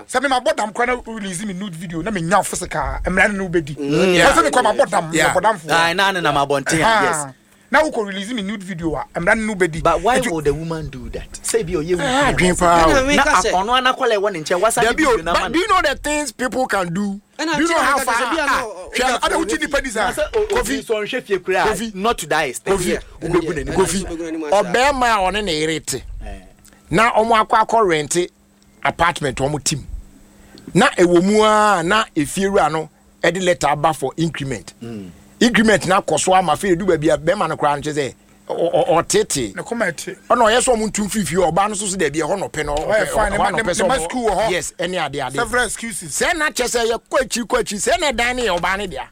Sɛ me mabɔ dam koraa na wo release me nude video na menya wo physical a, mmara no ne wo bɛdi. Sɛ me koraa mabɔ dam, meyɛ bɔdamfoɔ. Aye, na ne nam abɔnten a, yes. Na wokɔ release me nude video a, mmara no ne wo bɛdi. But why would the woman do that? Sɛ ebi ɔyɛ wo kunu adwene paa o. Na ɔno ara n'akwadaa ɛwɔ ne nkyɛn, wasan de video no ama no. Do you know the things people can do? Do you know how far? Ah, hwɛ, ada wogye nipa di saa. Kofi, sɛ ɔnhwɛ fie koraa, Kofi, not to that extent. Kofi, wobɛgu n'anim. Kofi, ɔbɛrima a ɔne ne yere te na wɔn akɔ akɔ rente apartment wɔn te mu na ɛwɔ mu ara na efiewura no ɛde letter aba for increment mm. Increment na akɔ so ama afei edu baabi a bɛrima no koraa no kyerɛ sɛ ɔtete ɔna ɔyɛ sɛ ɔmo ntu mfiri fie, ɔbaa no so so dɛbi, ɛhɔ na ɔpɛ no, ɔpɛ ɛhɔ na ɔpɛ sɛ ɔmo, yes, ɛne ade ade sɛ na kyɛ sɛ yɛ kɔ akyiri kɔ akyiri sɛ na ɛdan no yɛ ɔbaa no dea,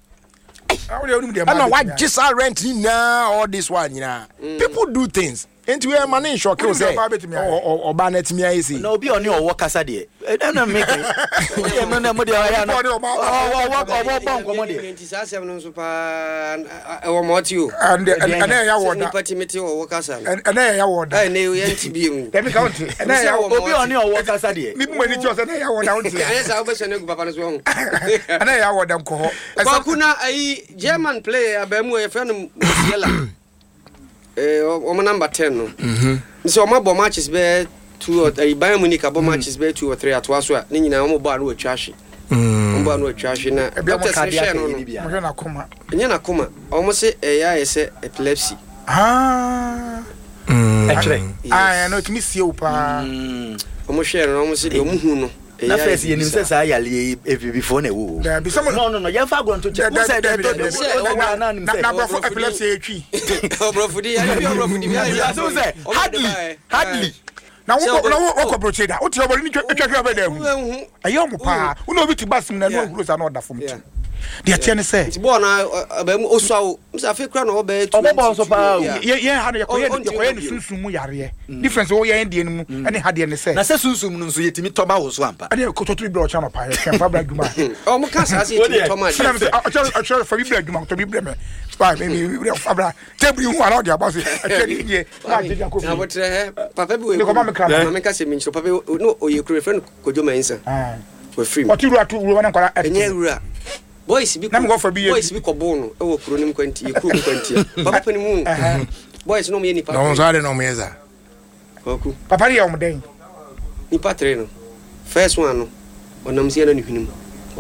ɛna wagye saa rent nyinaa, all this one nyinaa. People do things, nti wei ɛma ne nhyɔke wo sɛ ɔbaa no atumi ayɛ sei. Na obi a ɔne ɔwɔ kasa deɛ, ɛna meke wodeɛ mo na mo deɛ ɔyɛ ano ɔwɔ ɔwɔ bɔ nkɔmɔ deɛ. Nti saa asɛm no nso paa ɛwɔ ma ɔte o. Ɛnɛ ɛyɛ wɔ da. Nipa ti mi te ɔwɔ kasa no. Ɛnɛ ɛyɛ wɔ da. Ɛnɛ yɛ nti bi mu. Dɛbi ka ɔnte. Ɛnɛ ɛyɛ wɔ. Obi a ɔne ɔwɔ kasa deɛ. Mi bu ma ni ti ɔsɛ ɛnɛ ɛyɛ wɔ da ɔnte. Ɛyɛ saa wobɛhyɛ no agu papa no so ɔho. Ɛnɛ ɛyɛ wɔ da nkɔ hɔ. Kwaku na ayi German player abaamu a yɛfrɛ no Musiala. Eh, wɔn number 10 no. Sɛ wɔn abɔ matches bɛyɛ two or eh, Bayern Munich abɔ matches bɛyɛ two or three atoa so a, ne nyinaa wɔn bɔ a no wɔatwa ahwe. Wɔn bɔ a no wɔatwa ahwe na doctors no hwɛ no no. Wɔhwɛ n'akoma. Ɛnyɛ n'akoma. Wɔn se ɛyɛ ayɛ sɛ epilepsy. Ah. Ɛkyerɛ. Ah, ɛno ɛtumi sie wo paa. Wɔn hwɛ no na wɔn se deɛ wɔn hu no. Na first yɛnim sɛ saa yareɛ yi abibifoɔ na ɛwɔ o. Daabi sɛ mo. No no no yɛmfa agorɔ nto kyɛ. Wo sɛ daabi daabi daabi. Na nim sɛ. Na aborɔfo epilepsy yɛ twi. Ɔborɔfo di yare bi ɔborɔfo di bi ayɛ. Ase sɛ hardly hardly. Na wo na wo wɔkɔ brokye da. Wote ɔbɔde ne twa twa hwɛ bɛ da ahu. Ɛyɛ ɔmo paa. Wo na obi te bus mu na ɛno ahuro saa na ɔda fam ti. Deɛ teɛ ne sɛ. Nti bɔɔl na ɔbɛn mu osua o. Msa afei kura na ɔbɛyɛ 20. Ɔbɔ bɔɔl nso paa o. Yɛ yɛn ha no yɛkɔyɛ yɛkɔyɛ ne sunsum mu yareɛ. Difference wɔ yɛn deɛ no mu ɛne ha deɛ ne sɛ. Na sɛ sunsum no nso yɛtumi tɔ ma wo so ampa. Ɛdeɛ kɔtɔ tumi brɛ ɔkyɛ anɔpa yɛ twɛn fa bra adwuma. Ɔmo ka saa sɛ yɛtumi tɔ ma deɛ. Ɛna mi sɛ ɔkyɛ ɔkyɛ fa bi brɛ adwuma tɔ bi brɛ mɛ. Fa mi mi mi fa bra table yi ho ana ɔde aba so ɛkyɛ ne yie na agye de akɔ fie. Abotrɛ hɛ papa bi wɔ Ne kɔma mi kra. Maame ka sɛ mi nkyerɛ papa bi no ɔyɛ kuro efrɛ no Kojo Mensah. Wafiri mu. Ɔte wura to wura ne nkwadaa ɛtete. Ɛnyɛ wura. Boys bi Na mekɔ fa bi yɛ boys bi kɔ boo no ɛwɔ kuro no mu kwanti yɛ kuro mu kwantia. Papa pɛ ne mu. Boys no ɔmo yɛ nipa. Na wɔn nso ade na wɔn yɛ saa. Kwaku. Papa no yɛ wɔn dɛn? Nipa tere no. First one no ɔnam si ɛna ne hwene mu.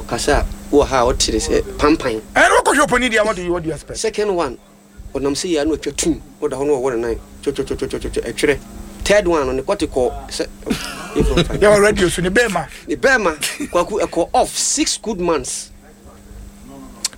Ɔkasa a wɔ ha a ɔte ne sɛ pampan. Ɛna wɔkɔ hwɛ ɔpanin deɛ what do you what do you expect? Second one Ɔnam sei a na ɔtwa tum, ɔda hɔ na ɔwɔ ne nan twɔtwɔtwɔtwɔtwɔ ɛtwerɛ. Third one no ne kɔte kɔɔ sɛ Yɛwɔ radio so ne bɛɛma. Ne bɛɛma Kwaku ɛkɔ off 6 good months.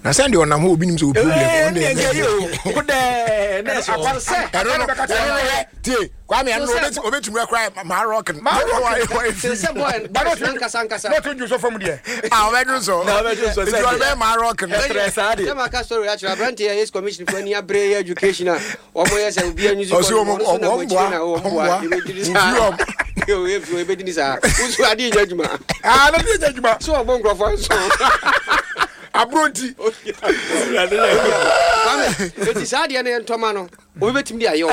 Na sɛ deɛ ɔnam hɔ obi nim sɛ wɔ problem ɔno deɛ ɛndeɛ yɛ o kodɛɛ na ɛsɛ hɔ. Sɛ ɛno no ɛno no hɛ tie Kwame ɛno no obetumi akura maa rock no. Maa rock no sɛ boy boys nankasa nkasa. Na ɔtún ju so fam deɛ. A ɔbɛdun so. Na ɔbɛdun so sɛ deɛ. Nti ɔbɛyɛ maa rock no. Ɛtrɛ saa deɛ. Sɛ ma ka story akyerɛ aberante yɛ ace commission fo ani abere yɛ education a wɔn yɛ sɛ obi anyi so kɔ no wɔn so na wɔn akyire na wɔn boa ebedini saa ebedini saa wusu adi nyɛ adwuma. Aa na adi nyɛ adwuma. So ɔbɔ nkurɔfoɔ nso. Aburo nti. Kwame eti saa deɛ no yɛ ntɔma no. Obi bɛtumi de ayɛ o.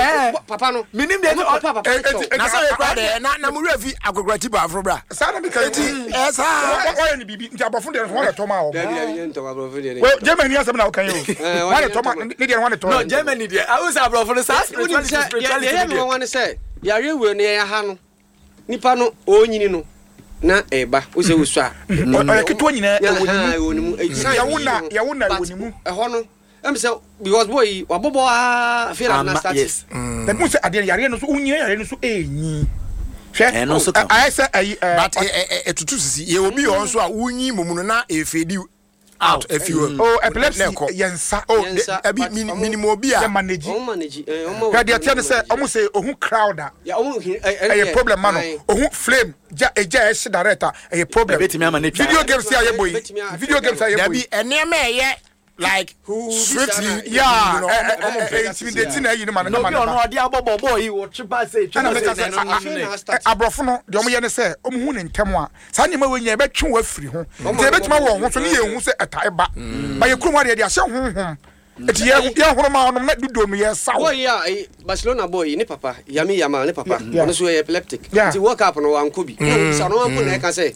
Papa no. Menim deɛ ɔmo papa papa kyɛw. Na sɛ yɛ deɛ na mo werɛ fi akokora ti baaforo bra. Saa na meka eti ɛyɛ saa. Wɔyɛ ne biribi nti aborɔfo deɛ no wɔn na tɔma wɔn. Dabi dabi yɛ ntɔma aborɔfo deɛ. Well, Germany asɛm na ɔka yi o. Wɔn na tɔma ne deɛ wɔn na tɔma. No, Germany deɛ awo sɛ aborɔfo no saa spirituality spirituality deɛ. Deɛ yɛ mi wɔn sɛ yareɛ wei no yɛn ha no nipa no ɔnyini no na ɛba wosɛ wosua. Ɔyɛ ketewa nyinaa ɛwɔ ne mu. Yɛwo na yɛwo na ɛwɔ ne mu. Ɛhɔ no ɛm sɛ because boy yi wabɔbɔ aa afei na na start. Yes. Na mu sɛ adeɛ yareɛ no so wonyina yareɛ no so ɛnyi. Hwɛ ɛno nso ka ho. Ayɛ sɛ ayi ɛɛ. But ɛtutu sisi yɛ obi wɔ nso a wonyi mɔmu no na efedi out efi hɔ. Oh, epilepsy yɛ nsa. Oh, ɛbi minimu obi a. Yɛ manage. Ɔmo manage ɛɛ ɔmo. Hwɛ deɛ teɛ ne sɛ ɔmo sɛ ohun crowd a. Ɛyɛ problem ma no ohun flame gya egya ɛhye direct a ɛyɛ problem. Ɛbɛtumi ama ne twa. Video games a yɛ bɔ yi video games a yɛ bɔ yi. Dabi nneɛma ɛyɛ like swiftly. Yeah, intimidate na ɛyi no ma no ma no ba. Na obi ɔno ɔde abɔ bɔ bɔɔl yi wɔtwe ba sɛ etwa ba sɛ. Aborɔfo no deɛ wɔyɛ ne sɛ wɔn hu ne ntɛm a saa nneɛma wei nyɛ ɛbɛtwe wɔ afiri ho nti ɛbɛtumi awɔ ho so ne yɛn hu sɛ ɛtae ba ba yɛ kurom adeɛ de ahyɛ honhom nti yɛ yɛ horo ma ɔnom na dodo no yɛ saw. Boy yi a Barcelona boy yi ne papa Yami Yamal ne papa ɔno nso yɛ epileptic nti World Cup no wankɔ bi na obisa no wanko na ɛka sɛ.